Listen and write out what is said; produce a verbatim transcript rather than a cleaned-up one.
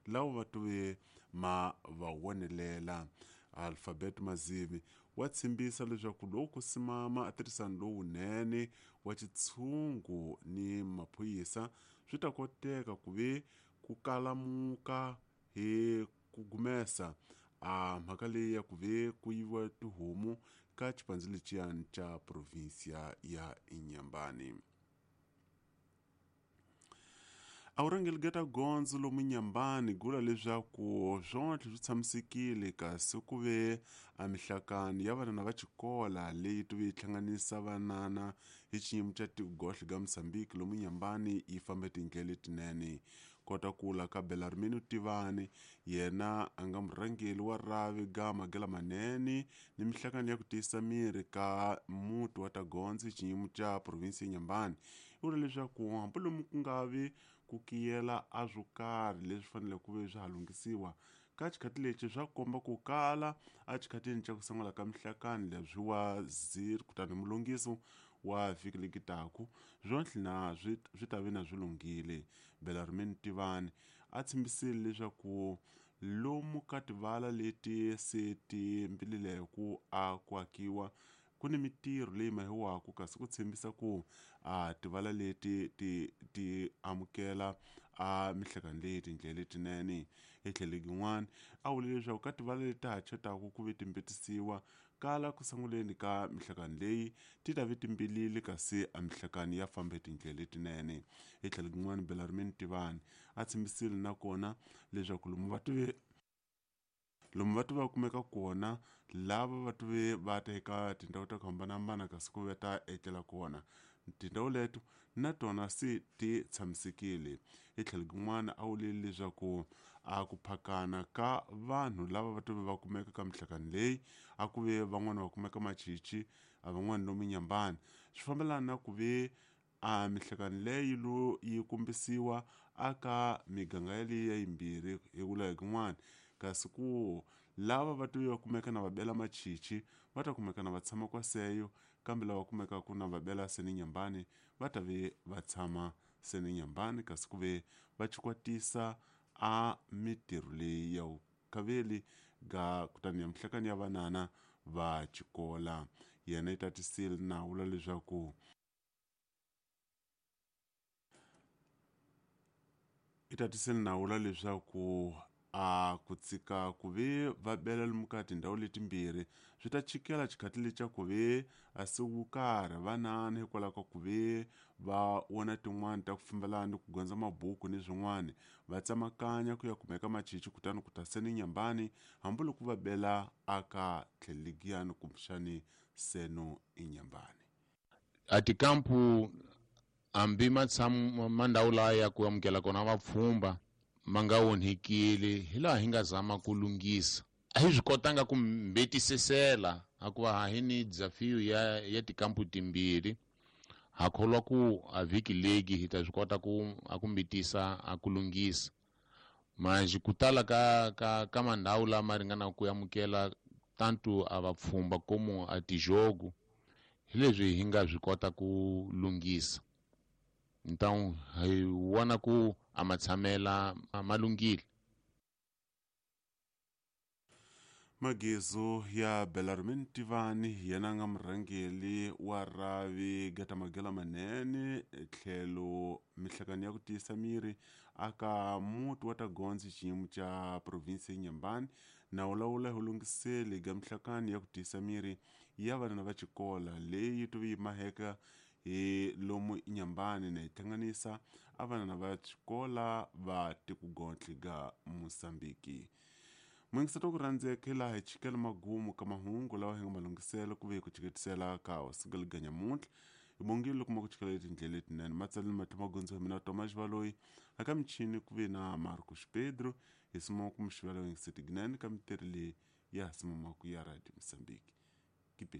lawa va tuve ma va wonelela. Alphabet Mazivi wa tshembisa leswaku loko ku simama a tirhisano lowunene wa xitshungu ni maphorisa swi ta koteka ku ve ku kalamuka hi ku gumesa a mhaka leyi ya ku ve ku yiviwa tihomu ka xipandzu lexiyani xa provinsia ya Inhambane. A vurhangeri bya gondzo lomu Inhambane gula leswaku swontlhe swi tshamisekile kasi ku ve a mihlakano ya vanana va xikola leyi tuve yi hlanganisa vanana hi xiyimo xa tiko-gohle ga Mozambique lomu Inhambane yi fambe tindlela letinene. Kota kula ka Belarmino Tivani yena a nga murhangeri wa rhavi ga magela manene ni mihlakano ya ku tiyisa miri ka muti wa ta gondzo hi xiyimo xa provinsi ya Inhambane i vula leswaku hambilomu ku nga vi ku kiyela a swo karhi leswi faneleke ku ve swa ha lunghisiwa ka xikhathi lexi swa komba ku kala a xikhatini xa ku sungula ka mihlakano leswi wa zero kutani mulunghiso wa vhiki leki taku swontlhe na swi swi ta ve na swi lunghile. Belarmino Tivani a tshembisile leswaku lomu ka tivala leti se ti mbilileke a ku akiwa ku ni mitirho leyi mahiwaka kasi ku tshembisa ku a tivala leti ti ti amukela a mihlakano leyi tindlela letinene. Hi tlhelo yin'wana a vule leswaku ka tivala leti ha chotaka ku ve timbetisiwa kala ku sunguleni ka mihlakano leyi ti ta ve timbilile kasi a mihlakano ya fambe tindlela letinene. Hi tlhelo yin'wana Belarmino Tivani a tshembisile nakona leswaku lomu va tive lomu va tiva kumeka kona lava va tive va ta eka tindhawu ta ku hambanahambana kasi ku va ta etlela kona tindhawu leto na tona se ti tshamisekile. Hi tlhelo rin'wana a vule leswaku a ku phakana ka vanhu lava va tive va kumeka ka mihlakano leyi a ku ve van'wana va kumeka machichi a van'wana lomu Inhambane swi fambelana na ku ve a mihlakano leyi lo yi kombisiwa aka miganga yaleyi ya yimbirhi hi vula hi kun'wana kasi ku lava va tive va kumeka na va bela machichi va ta kumeka na va tshama kwaseyo kambe lava kumekaka na va bela seni Inhambane va ta ve va tshama seni Inhambane kasi ku ve va chikwatisa a mitirho leyi ya vukaveli ga kutani ya mihlakano ya vanana va xikola. Yena yi tatisile na vula leswaku i tatisile na vula leswaku a ku tsika ku ve va bela lomu ka tindhawu letimbirhi swi ta chikela xikhathi lexi ku ve a siku karhi vanana hikwalaho ka ku ve va vona tin'wani ta ku fambelana ni ku gondza mabuku ni swin'wana va tsemakanya ku ya kumeka machichi kutani ku ta seni Inhambane hambiloko va bela aka tlheligiyani kumbexani seno Inhambane. A tikampu hambi matshamu ma ndhawu laya ya ku amukela kona vapfhumba ma nga onhekile hi laha hi nga zama ku lunghisa a hi swi kotanga ku mbetisesela hikuva ha hi ni desafio ya ya tikampu timbirhi ha kholwa ku a vhiki legi hi ta swi kota ku a ku mbetisa a ku lunghisa manje ku tala ka ka ka mandhawu lama ringanaka ku amukela tanto a vapfhumba como a tijogo hi leswi hi nga swi kota ku lunghisa. Então hi vona ku a matshamela ma lunghile. Magezo ya Belarmino Tivani yena nga murhangeri wa rhavi gata magela manene tlhelo mihlakano ya ku tiyisa miri aka muti wa ta gondzo xiyimo xa provinsi ya Inhambane na wulawula hi lunghiseli ga mihlakano ya ku tiyisa miri ya vanana va xikola leyi tuve yi maheka hi lomu Inhambane na yi hlanganisa a vanana va xikola va tiko-gohle ga Mozambique. Mwingiseti wa ku rhandzeka hi laha hi chikela magumu ka mahungu lawa hi nga malunghisela ku ve hi ku chiketisela ka hosigeli ga nyamuntlha hi bongile loko ma ku chikela etindlela letinene matsaleni matlo magondzo hi mina Thomas Baloyi aka michini ku ve na Marcos Pedro hi sima ku mixivela yingiseti ginene ka mitirho leyi ya simamaku ya Radio Mozambique.